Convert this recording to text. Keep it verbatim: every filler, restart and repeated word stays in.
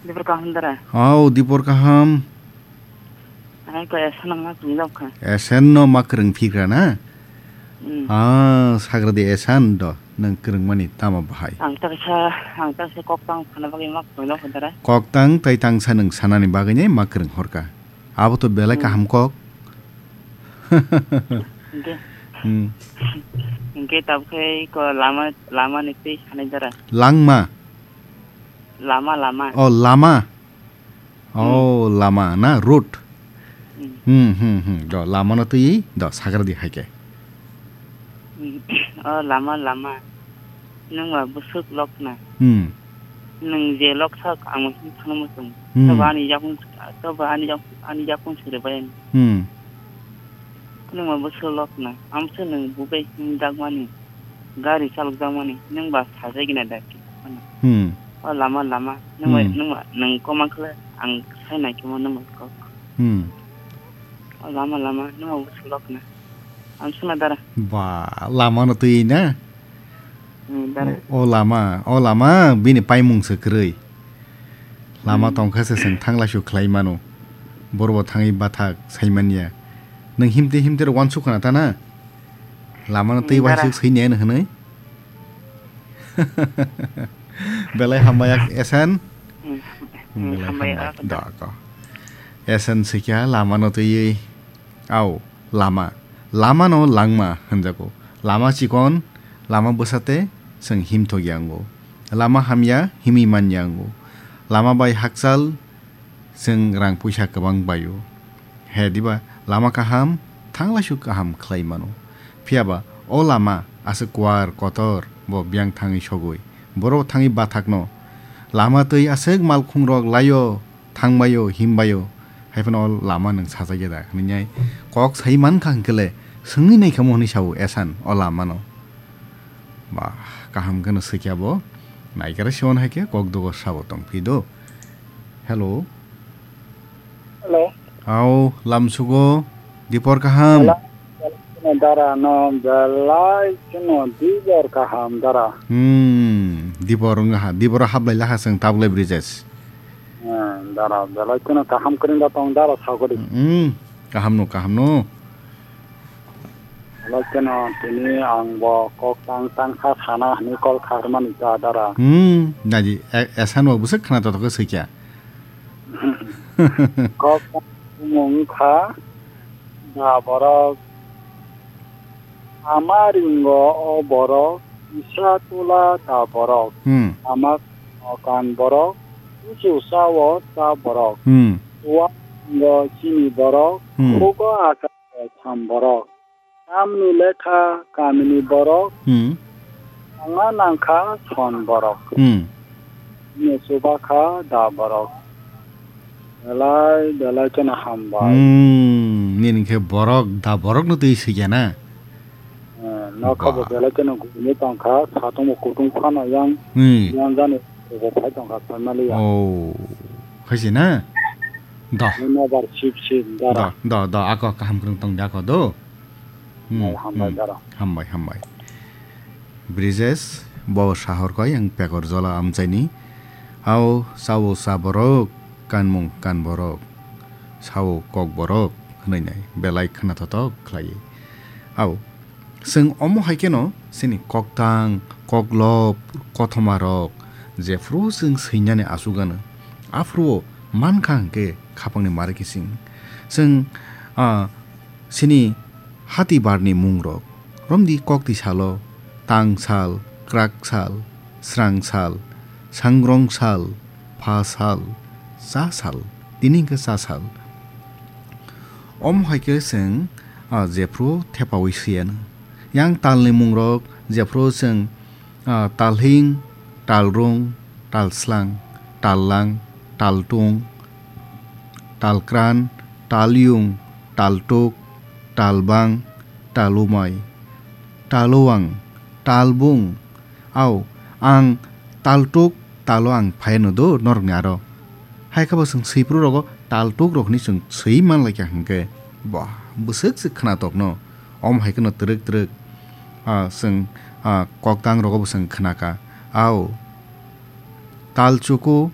Dipor kaham dara. Au, dipor kaham. Ai ko esa nang ma tong jok kha. Esen no ma kwrwng phigra na? Hmm. Ah, sagra de esan do. Nang kwrwng mani tamo bahai. Ang ta sa, ang ta sa kok tang sana bagwi ma tong jok kha dara. Kok tang tai tang sa nang sanani bagwi ne ma kwrwng horka. Abo to belai Hmm. kaham kok. Hingke. Hmm. Hingke tabuk khe ko lama, lama ni twi sanai dara. Langma. Lama, lama. Oh, lama. Hmm. Oh, lama na, road. Hmm. Hmm, hmm, hmm. Do, lama no twi, do, sagra di hai khe. Hmm. Oh, lama, lama. Nwng ba bwswk lok na. Hmm. Nwng je lok sak, ang mo thangna muchung. Hmm. Tobo ani yakung, tobo ani yak-, ani yakung sere bai. Hmm. Nwng ba bwswk lok na. Amsa nwng bubai himjak mani. Gari chalok jak mani. Nwng ba sajai gina da. Hmm. O lama, lama. Nwng ba, Hmm. nwng ba, nwng koma khle ang sai nai khe mo nwng ba kok. Hmm. O lama, lama. Nwng ba bwswk lok na. Amsa na dara. Ba, lama no twi na. Hmm, dara. O, o lama, o lama bini paimung se kwrwi. Lama Hmm. tongkha se chwng thangla su khlai mano. Borbo thangwi bathak sai manya. Nwng himte himte rw wansuk khna ta na? Lama no Hmm, twi dara. waisuk swi ne hwnwi. Belai hambai ak esen. Hmm. Hmm, belai Hambai hambai. ak Da ko. Esen sikya lama no twi. Au, lama. Lama no langma hwnjago. Lama chikon, lama bwsate chwng himthok yango. Lama hamya himwi man yango. Lama bai hakchal chwng rang puisa kwbang baio. He diba, lama kaham, thanglaisu kaham khlai mano. Phiyaba, o lama aswk kuar kotor, bo biyang thangwi sogwi. Borok thangwi bathakno. Lama twi aswk malkhungrok laio. Thangbaio, himbaio, hai phano o lama nwng sajagya da hwnwi kok sai mankha hwnkhe le swngwi naikha mo hwnwi sao Esan o lama no. Ba, kaham kheno swikya bo. Naikhe Siwan hai khe kok dogo sabo tongphi do. Hello. Hello. Ao, lamsugo, dipor kaham. Hello. Dara no belai kheno dibor kaham dara. Hmm, dibor wngha, dibor hablai laha chwng tabuk le Brijesh. Hmm, dara belai kheno kaham kwrwng da tong dara sagori. Hmm, kaham no, kaham no. Belai kheno tini ang bo kok tang tang kha sana hwnwi kol kharmani ta dara. Hmm, naji, e-, Esan bo bwswk khna totok khe swikya. Kok tang mung kha da borok. Ama ringo o borok, kisa tula da borok. Hmm. Ama kan borok, kuchu sao ta borok. Hmm. Ua ringo chini borok, Hmm. khugo aka sam borok. Tamni lekha kamini borok, Hmm. anga nangkha son borok. Hmm. Ni chuba kha da borok. Belai, belai kheno hambai. Hmm, nini khe borok, da borok no twi swikya na? Eh, nokha bo Ba. Belai kheno gurine tongkha, satung bo kutung phano yang, Hmm. yang jani bo phai tongkha, family ya. Oh, hai se na? Da. Ni nobar sip sip, dara. Da, da, da, ako kaham kwrwng tong da ako do. Hmm, Hambai, hmm. Dara. Hambai, hambai. Brijesh, bo sahor koi ang pekor jola amchaini. Ao sao sa borok, kanmung kan borok. Sao kok borok, hwnwi nai, belai khna thothok khlai. Ao, chwng omo hai kheno, chini koktang, koklop, kothoma rok, jephru chwng swinani asugano. Aphuru mankha hwnkhe khapangni mari kising. Chwng, ah, Chini hati barni mungrok, romdi kokti salo, tang sal, krak sal, srang sal, sangrong sal, pha sal, cha sal, tini hwnkhe cha sal. Omo hai khe chwng, ah, jephru thepaui siyano. Yang talni mungrok jephru chwng Ah, talhing, talrung, talslang, tallang, taltung, talkran, talyung, taltuk, talbang, talumai, taluang, talbung. Au, ang taltuk, taluang phaino do norokni aro. Hai khe bo chwng swiphru rogo taltuk rok hinwi chwng swi manlai kha hwnkhe, bah, bwswk se khna tokno. Omo hai kheno twrwk twrwk, ah, chwng, ah, koktang rogo bo chwng khna kha. Ao, tal chuku,